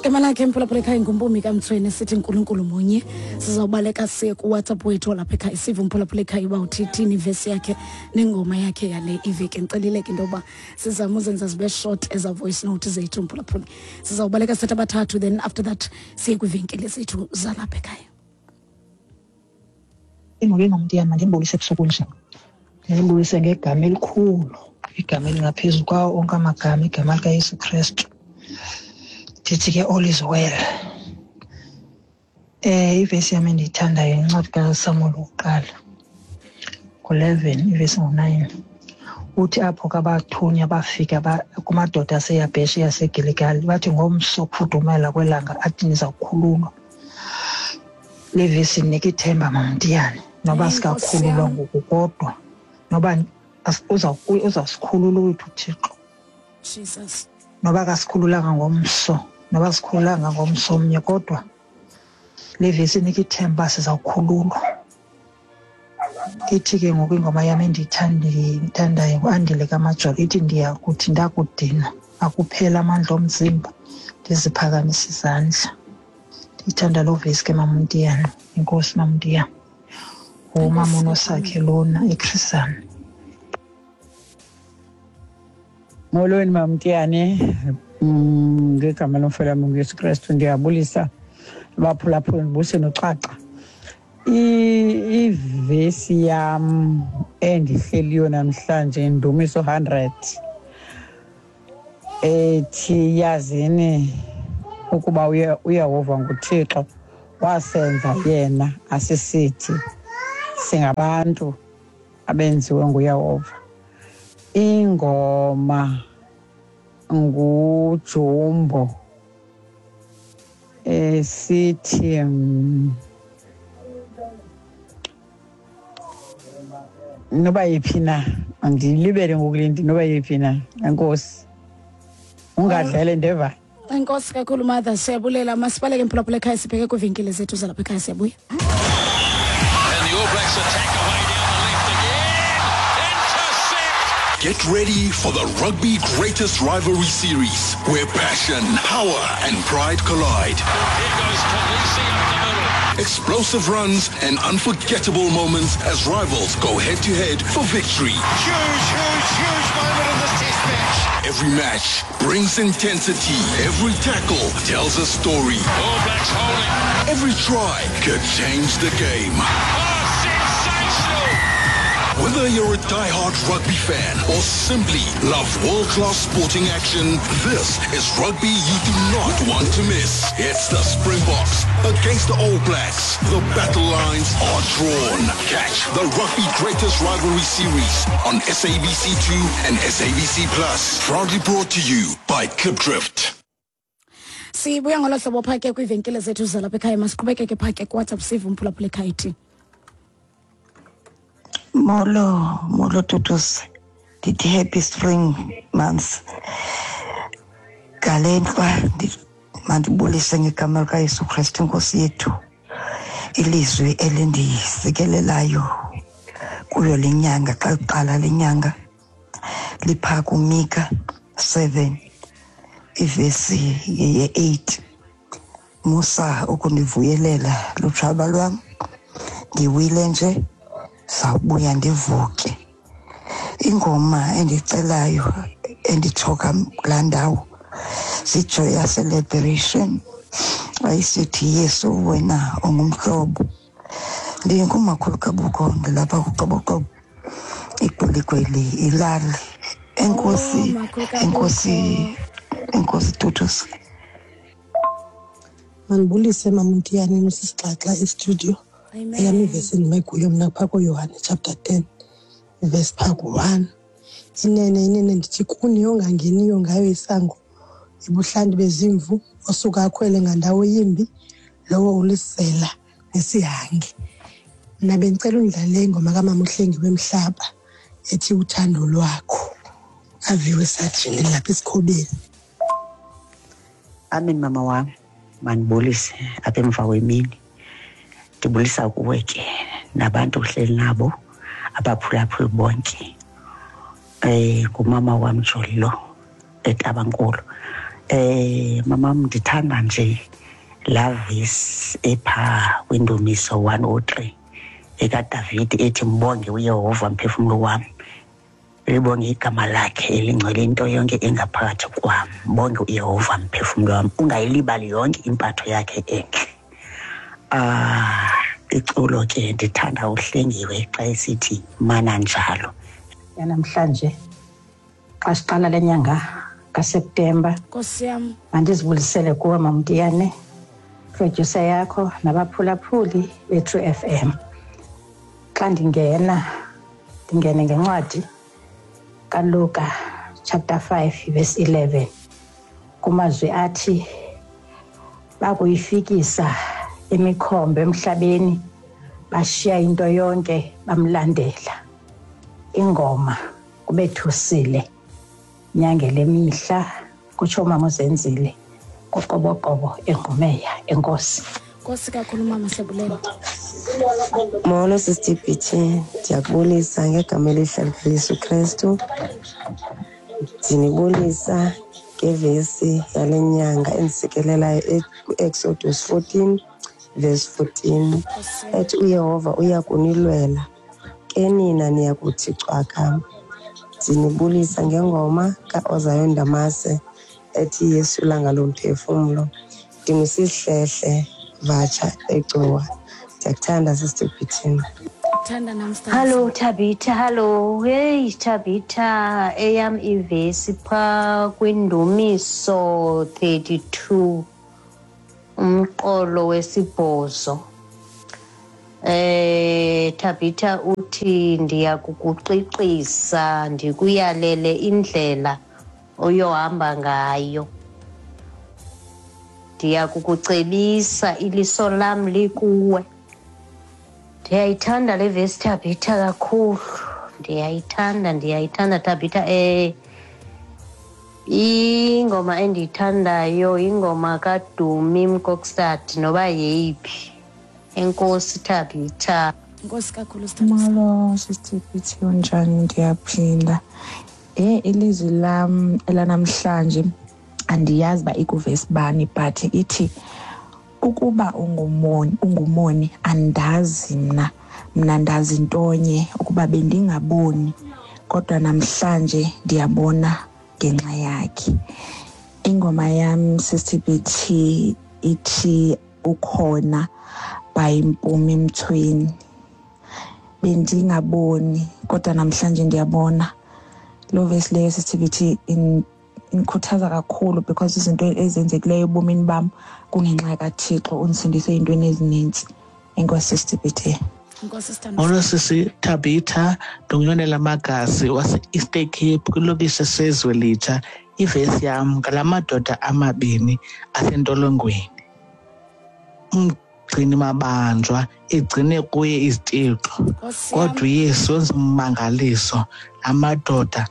Igama lakhe mphulaphula ekhaya nguMpumi kaMthweni, sithi Nkulunkulu munye. Sizawubaleka siye kuWhatsApp wethu walapha ekhaya, sive umphulaphula ekhaya uba uthithini ivesi yakhe nengoma yakhe yale iveki. Ndicelile ke into yoba sizame uzenza zibe short eza voice note zethu, mphulaphuli. Sizawubaleka sithatha abathathu, then after that siye kwiivenkile zethu zalapha ekhaya. Ingxaki engamntiyana, mandinibulise ebusuku nje. Ndinibulise ngegama elikhulu, igama elingaphezu kwawo onke amagama, igama likaYesu Krestu. Ndithi ke all is well. Ivesi yam endiyithandayo yincwadi kaSamuel wokuqala ngo-11 ivesi ngo-9. Uthi apho kabathunywa bafika kumadoda aseYabheshe yaseGiligali, bathi ngomso kufudumela kwelanga athi niza kukhululwa. Le vesi inika ithemba, Mamntiyane, noba sikakhululwa ngoku kodwa noba uzawusikhulula wethu uThixo. Jesus. Noba akasikhululanga ngomso, noba sikhululanga ngomso omnye, kodwa le vesi inika ithemba sizawukhululwa. Ithi ke ngoku ingoma yam endiyithandayo nguAndile kaMajola, ithi ndiyakuthi ndakudinwa akuphela amandla omzimba ndiziphakamise izandla. Ndiyithanda loo vesi ke, Mamntiyana. Enkosi, Mamntiyana. Ngumama uNosakhe lona eChris Hani. Molweni Mamtiyane, ngegama lomfela nguYesu Kristu ndiyabulisa abaphulaphuli, ndibulise noxaxa. Ivesi yam endihleliyo namhlanje Ndumiso 100 ethi yazini ukuba uYehova nguThixo, wasenza yena asisithi, singabantu abenziwe nguYehova. Ingoma nguJumbo esithi noba yiphi na, andilibele ngokulindi, noba yiphi na. Enkosi, ungadlele ndeva. Enkosi kakhulu, mother, siyabulela. Masibaleke mphulaphula ekhaya, sibheke kwiivenkile zethu zalapha ekhaya, siyabuya. And the All Blacks attack away down the left again. Intercept. Get ready for the Rugby Greatest Rivalry Series, where passion, power, and pride collide. Here goes Kolisi up the middle. Explosive runs and unforgettable moments as rivals go head-to-head for victory. Huge, huge, huge moment in this test match. Every match brings intensity. Every tackle tells a story. All Blacks holding. Every try could change the game. Oh, sensational! Whether you're a die-hard rugby fan or simply love world-class sporting action, this is rugby you do not want to miss. It's the Springboks against the All Blacks. The battle lines are drawn. Catch the Rugby Greatest Rivalry Series on SABC2 and SABC Plus. Proudly brought to you by Klipdrift. Sibuya ngolo hlobo phaa ke kwiivenkile zethu zalapha ekhaya. Masiqhubekeke phaa ke kuWhatsApp, sive umphulaphula ekhaya ithi. Molo, molo Tutus. Ndithi happy spring months. Ngale ntlwa mandibulise ngegama likaYesu Kristu iNkosi yethu. Ilizwi elindisikelelayo kuyo le nyanga, xa kuqala le nyanga, liphaa kuMika 7 ivesi ye-8. Musa ukundivuyelela lutshaba lwam, ndiwile nje zawubuya ndivuke. Ingoma endicelayo endithoka kulaa ndawo ziJoyous Celebration, ayisithi Yesu wena ungumhlobo. Ndingumakhulu kaBuko, ndilapha kuQoboqobo, igweligweli ilali. Enkosi. Oh, Makhulu kaBuko. Enkosi, enkosi Tutus. Mandibulise Mamntiyane nosisixaxa estudio. Amen. Eyam ivesi endime kuyo mna phaa kuYohane chapter 10 ivesi phaa ku-1. Inene, inene ndithi kuni, ongangeniyo ngayo isango ebuhlanti bezimvu, osuka akhwele ngandawo yimbi, lowo ulisela nesihange. Mna bendicela undlalele ingoma kamama uHlengi wemhlaba ethi uthando lwakho. Aviwe sajini lapha esikhobeni. Amen mama wam, mandibulise apha emva kwemini. Ndibulisa kuwe ke nabantu ohleli nabo, abaphulaphuli bonke. Ngumama wam Joli lo eTabankulu. Mamam, ndithanda nje laa vesi ephaa kwiNdumiso 103 ekaDavide ethi mbonge uYehova mphefumlo wam, libonge igama lakhe elingcwele, into yonke engaphakathi kwam. Mbonge uYehova mphefumlo wam, ungayilibali yonke impatho yakhe entle. Iculo ke ndithanda uHlengiwe xa esithi mana njalo. Yanamhlanje xa siqala le nyanga kaSeptemba, Nkosi yam, mandizibulisele kuwe Mamtiyane, producer yakho nabaphulaphuli beTrue FM. Xa ndingena ndingene ngencwadi kaLuka chapter 5 verse 11 kumazwi athi bakuyifikisa imikhombe emhlabeni bashiya into yonke bamlandela. Ingoma kubethusile nyangele mihla kutsho umama uZenzile kuqoboqobo eNgqumeya. Enkosi. Nkosi kakhulu mama, siyabulela. Molo Sister BT, ndiyakubulisa ngegama elihle likaYesu Krestu. Ndinibulisa ngevesi yale nyanga endisikelelayo ku-Exodus 14 verse 14 ethi uYehova uya kunilwela, ke nina niya kuthi cwaka. Ndinibulisa ngengoma kaOzayo Ndamase ethi Yesu langa lomphefumlo. Ndingusihlehle Vatsha eGcuwa. Ndiyakuthanda Sister BT. Thanda nam. Hallo Thabitha, hallo. Hey Thabitha, eyam ivesi phaa kwiNdumiso 32 umqolo wesibhozo. Thabitha uthi ndiyakukuqiqisa ndikuyalele indlela oyohamba ngayo. Ndiyakukucebisa iliso lam likuwe. Ndiyayithanda le vesi Thabitha kakhulu. Ndiyayithanda Thabitha. Ingoma endiyithandayo ingoma kaDumi Mkokstad noba yeyiphi. Enkosi Thabitha. Enkosi kakhulu sithandwa. Molo Sister BT, unjani? Ndiyaphinda. Ilizwi lam elanamhlanje andiyazi uba ikuvesi bani, but ithi ukuba ungumoni andazi mna ndazi ntonye ukuba bendingaboni, kodwa namhlanje ndiyabona ngenxa yakhe. Ingoma yam Sister BT ithi ukhona by Mpumi Mthweni. Bendingaboni kodwa namhlanje ndiyabona. Loo vesi leyo Sister BT indikhuthaza kakhulu because izinto ezenzekileyo ebomini bam kungenxa kaThixo undisindise ey'ntweni ezinintsi. Enkosi Sister BT. Molo sisi Thabitha, ndinguYonela Magasi wase-Eastern Cape kwilokishi eseZwelitsha. Ivesi yam ngala madoda amabini asentolongweni. Umgcini mabanjwa egcine kuye izitixo, kodwa uYesu wenza ummangaliso, amadoda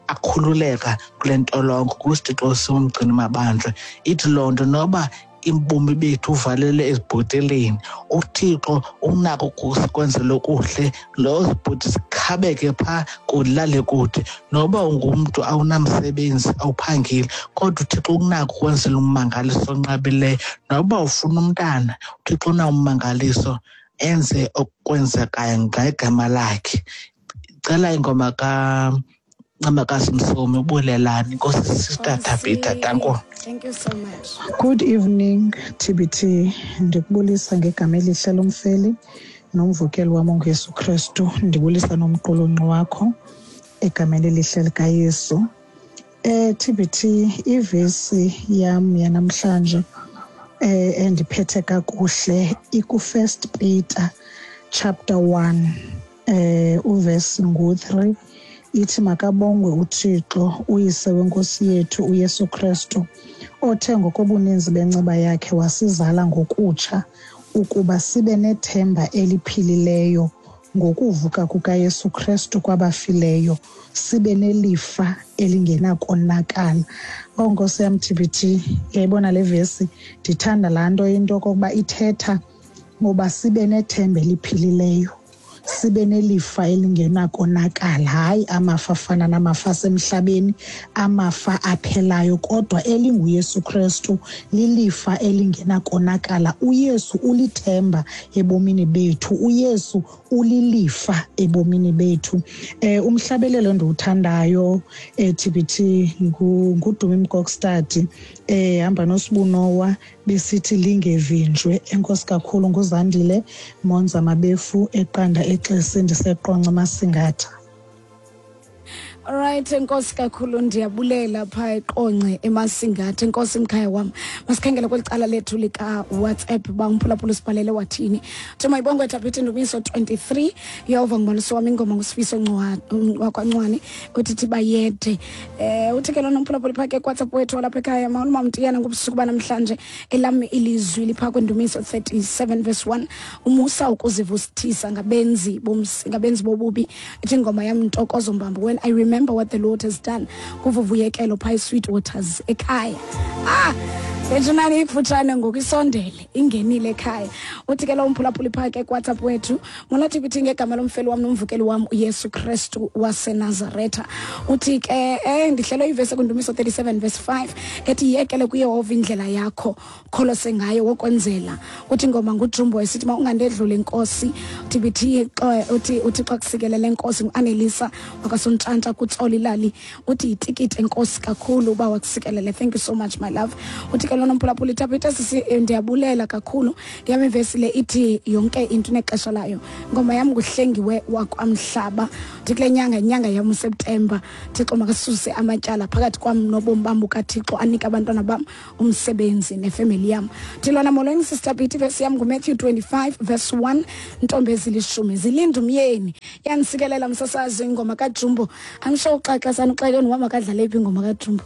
akhululeka kule ntolongo kwisitixo somgcini mabanjwa. Ithi loo nto noba imbomi bethu uvalele ezibhoteleni, uThixo unako ukukwenzela okuhle, loo zibhoti zikhabeke phaa kulale kude. Noba ungumntu awunamsebenzi, awuphangeli, kodwa uThixo unako ukwenzela ummangaliso onqabileyo. Noba ufuna umntana, uThixo unawo ummangaliso enze okwenzekayo ngegama lakhe. Cela ingoma kaNcamakazi Msomi, ubulelani. Nkosi Sister Thabitha, danko. Thank you so much. Good evening TBT, ndikubulisa ngegama elihle lomfeli nomvukeli wam onguYesu Kristu. Ndibulisa nomqulunqi wakho egameni elihle likaYesu. TBT, ivesi yam yanamhlanje endiphethe kakuhle iku-First Peter chapter 1 uvesi ngu-3 ithi makabongwe uThixo uyise wenkosi yethu uYesu Kristu, othe ngokobuninzi benceba yakhe wasizala ngokutsha ukuba sibe nethemba eliphilileyo ngokuvuka kukaYesu Kristu kwabafileyo, sibe nelifa elingenakonakala. Oh Nkosi yam TBT, uyayibona le vesi, ndithanda laa nto into okokuba ithetha ngoba sibe nethemba eliphilileyo, sibe nelifa elingenakonakala, hayi amafa afana namafa asemhlabeni, amafa aphelayo, kodwa elinguYesu Kristu lilifa elingenakonakala. UYesu ulithemba ebomini bethu, uYesu ulilifa ebomini bethu. Umhlabelelo endiwuthandayo TBT nguDumi Mkokstad, hamba noSibunowa besithi lingevinjwe. Enkosi kakhulu. NguZandile Monza Mabefu eQanda eXesi, ndiseQonce Masingatha. Alright, enkosi kakhulu, ndiyabulela phaa eQonce eMasingatha. Enkosi mkhaya wam. Masikhangele kweli cala lethu lika-WhatsApp uba umphulaphula usibhalele wathini. Uthi mayibongwe Thabitha, Ndumiso 23, Yehova ngumalusi wam, ingoma nguSifiso wakwaNcwane uthi thi bayede. Uthi ke lona umphulaphula phaa ke kuWhatsApp wethu walapha ekhaya, mawulumamtiyana ngobusuku banamhlanje, elam ilizwi liphaa kwiNdumiso 37 verse 1, umusa ukuzivusithisa ngabenzi bobubi. Ithi ingoma yam Ntokozo Mbambo, when I remember what the Lord has done, kuvuvuyekelo phaa eSweet Waters ekhaya. Bethunani ikufutshane ngoku, isondele ingenile ekhaya. Uthi ke lo umphulaphuli phaa ke kuWhatsApp wethu, molathi kuthi ngegama lomfeli wam nomvukeli wam uYesu Kristu waseNazaretha. Uthi ke ndihlelwe ivesi kwiNdumiso 37 verse 5 ethi yekele kuYehova indlela yakho, kholose ngaye wokwenzela. Uthi ingoma nguJumbo esithi ma ungandedlula inkosi. Uthi bithi uthi uThixo akusikelele enkosi. Nguanelisa wakaSontshantla kuTsolo ilali, uthi yitikiti enkosi kakhulu uba wakusikelele. Thank you so much my love. Uthi ke lona umphulaphuli, Thabitha sisi, ndiyabulela kakhulu, yam ivesi le ithi yonke into inexesha layo, ingoma yam nguHlengiwe wakwaMhlaba. Uthi kule nyanga, inyanga yam uSeptemba, Thixo makasuse amatyala phakathi kwam nobomi bam bukaThixo, anike abantwana bam umsebenzi nefemeli yam. Uthi lona, molweni sister Bithi, ivesi yam nguMatthew 25 verse 1, ntombi ezilishumi zilinda umyeni. Yanisikelela msasazi, ingoma kaJumbo. I'm sure uxaxa sana uxeleni wam akadlale phi ingoma kaJumbo.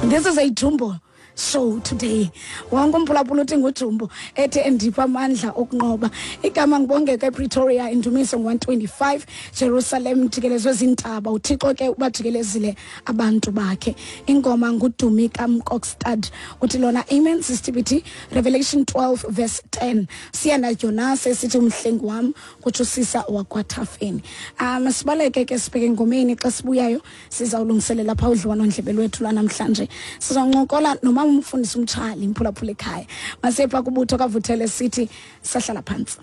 This is a Jumbo show today. Wonke umphulaphula uthi nguJumbo ethi endipha amandla okunqoba. Igama ngibongeka ePretoria, Indumiso 125, Jerusalem jikelezwe zintaba, uThixo ke ubajikelezile abantu bakhe. Ingoma nguDumi kaMkokstad. Uthi lona, amen sister BT, Revelation 12 verse 10, siyana Jonas esithi umhlengi wam, kutsho sisa wakwaThafeni. Sibaleke ke sibheke engomeni, xa sibuyayo sizawulungiselela phaa udliwano-ndlebe lwethu lwanamhlanje, sizawuncokola nomama umfundisi uMtshali, mphulaphula ekhaya. Masepha kubutho kaVuthele sithi sahlala phantsi.